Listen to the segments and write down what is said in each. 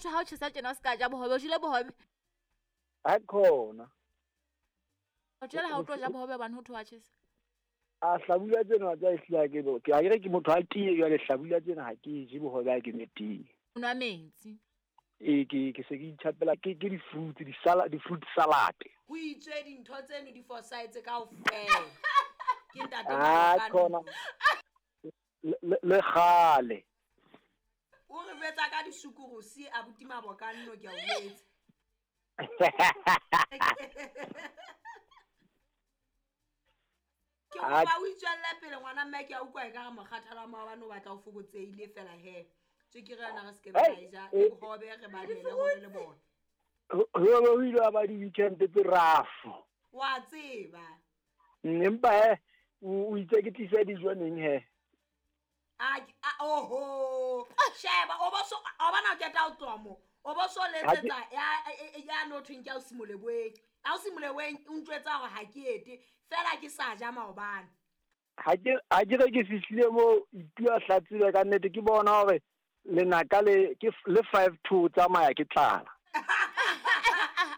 thwe ha o tjhesa tjena o se ka ja bohobe, o jele bohobe. Ha khona. O jele ha o tlo ja bohobe hobane ho thwe wa tjhesa. A hlabula tsena tsa ehlile ha ke bo. Ke ha ke re ke motho a tiye jwale hlabula tsena ha ke je bohobe ha ke nwe tee. O nwa metsi. Ee, ke se ke itjhapela ke di-fruits, di-fruit salad. Ho itswe dintho tseno di fosahetse kaofela. Ke ntate Ah, khona. Le kgale. O re jwetsa ka disukurusi abuti Mabokanno ke a o jwetsa. Ke kopa o itswelle pele ngwana mme ke a utlwa ekare mokgathala wa maobane o batla o fokotsehile fela he. Tswekere yona re se ke ra e ja, le bohobe re ba nele hole le bona. Ho ile wa ba di-weekend tse rough. Wa tseba. Empa he, o itse ke tlise dijo neng he? Oho. Sheba, o bo so o bona o qeta ho tloha moo. O bo so letsetsa ya no thweng ke ausi Moleboeng. Ausi Moleboeng o ntjwetsa hore ha ke ete, fela ke sa ja maobane. Ha ke re ke fihlile moo Itua Hlatsile ka nnete ke bona hore lenaka le ke le 5-2 tsamaya ke tlala.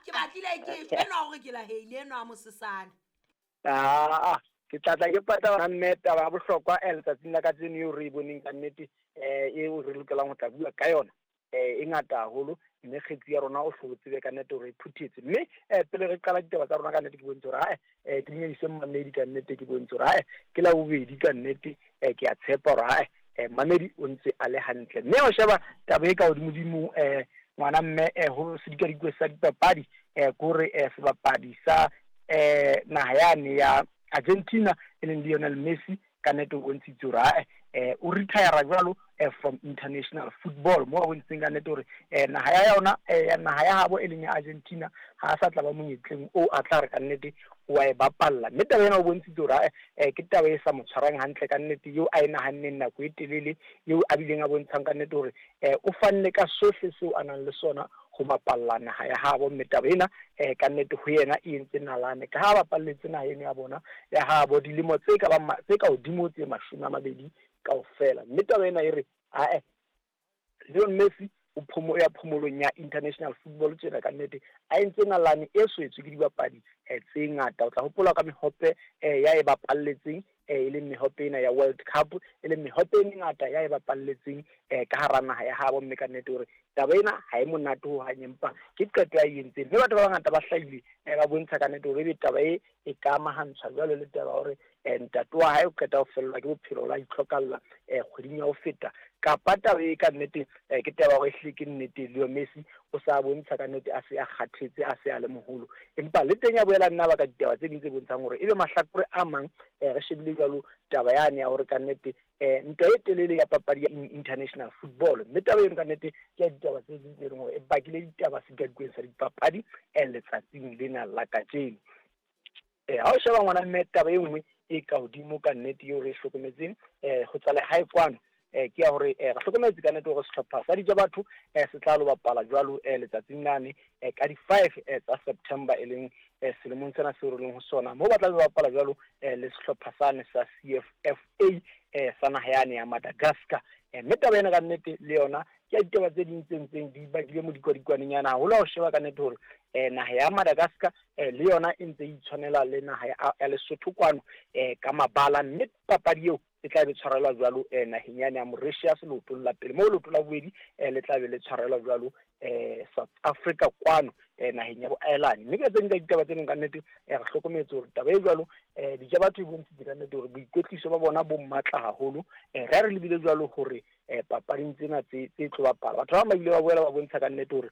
Ke batlile ke enwa hore ke laheile enwa a mosesane. Ah, ke tlatla ke pata mme taba ya bohlokwa letsatsing la kajeno eo re e boneng ka nnete eo re lokelang ho tla bua ka yona e ngata haholo, mme kgetsi ya rona o hlo tsebe ka nnete hore e phuthetse. Mme pele re qala ditaba tsa rona ka nnete ke bontshe hore hae ke dumedise mmamedi ka nnete, ke bontshe hore hae ke la bobedi ka nnete, ke a tshepa hore hae mmamedi o ntse a le hantle. Mme o sheba taba e ka hodimodimo ngwana mme ho sedikadikwe sa dipapadi kore sebapadi sa naha yane ya Argentina e leng Lionel Messi ka nnete o bontshitse hore hae o retire jwalo from international football, mo a bontshitseng ka nnete hore naha ya yona ya naha ya habo e leng ya Argentina ha a sa tla ba monyetleng o a tla re ka nnete wa e bapalla. Mme taba ena o bontshitse hore ke taba e sa mo tshwarang hantle ka nnete, eo a e nahanneng nako e telele, eo a bileng a bontshang ka nnete hore o fanne ka sohle seo a nang le sona ho bapalla naha ya habo. Mme taba ena ka nnete ho yena e entse nalane ka ha bapalletse naha eno ya bona ya habo dilemo tse ka bang tse ka hodimo tse 20 kaofela. Mme taba ena e re ae Lionel Messi o phomo ya phomolong ya international football tjena ka nnete a entse nalane e swetswe ke dibapadi tse ngata. O tla hopola ka mehope ya e bapalletseng e leng mehope ena ya World Cup, e leng mehope e mengata ya e bapalletseng ka hara naha ya habo. Mme ka nnete hore taba ena ha e monate ho hang, empa ke qeto ya e entseng. Mme batho ba bangata ba hlahile ba bontsha ka nnete hore ebe taba e e ka amahantshwa jwalo le taba hore ntate wa hae o qeta ho fellwa ke bophelo la itlhokalla kgweding ya ho feta, kapa taba e ka nnete ke taba hore ehlile ke nnete Leo Messi o sa bontsha ka nnete a se a kgathetse, a se a le moholo. Empa le teng ya boela nna ba ka ditaba tse ding tse bontshang hore ebe mahlakore a mang re shebile jwalo taba yane ya hore ka nnete ntwa e telele ya papadi ya international football. Mme taba eno ka nnete ke ya ditaba tse ding tse leng hore e bakile ditaba sedikadikweng sa dipapadi letsatsing lena la kajeno. Ha o sheba ngwana mme taba e nngwe e ka hodimo ka nnete eo re e hlokometseng ho tswa lehae kwano ke ya hore re hlokometse ka nnete hore sehlopha sa Dija Batho se tla lo bapala jwalo letsatsing lane ka di-5 tsa September e leng selemong sena seo re leng ho sona, moo ba tla be bapala jwalo le sehlopha sane sa CFFA sa naha yane ya Madagascar. Mme taba ena ka nnete le yona ke ya ditaba tse ding tse ntseng di bakile modikwadikwaneng yana haholo ha o sheba ka nnete hore naha ya Madagascar le yona e ntse e itshwanela le naha ya Lesotho kwano ka mabala. Mme papadi eo e tla be tshwarelwa jwalo naheng yane ya Mauritius leotong la pele, moo leoto la bobedi le tla be le tshwarelwa jwalo South Africa kwano naheng ya bo Ireland. Mme ka tse ding tsa ditaba tse ding ka nnete re hlokometse hore taba e jwalo Dija Batho e bontshitse ka nnete hore boikwetliso ba bona bo matla haholo. Re re lebile jwalo hore papading tsena tse tlo bapala batho ba bang ba ile ba boela ba bontsha ka nnete hore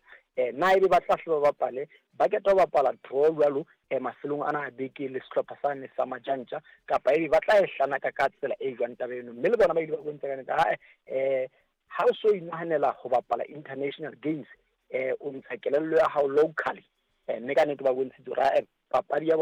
na ebe ba tla hle ba bapale, ba keta ho bapala draw jwalo mafelong ana a beke le sehlopha sane sa Majantja, kapa ebe ba tla e hlanaka ka tsela e jwang taba eno. Mme le bona ba ile ba bontsha ka nnete ha o so inahanela ho bapala international games o ntsha kelello ya hao locally. Mme ka nnete ba bontshitse hore papadi ya bona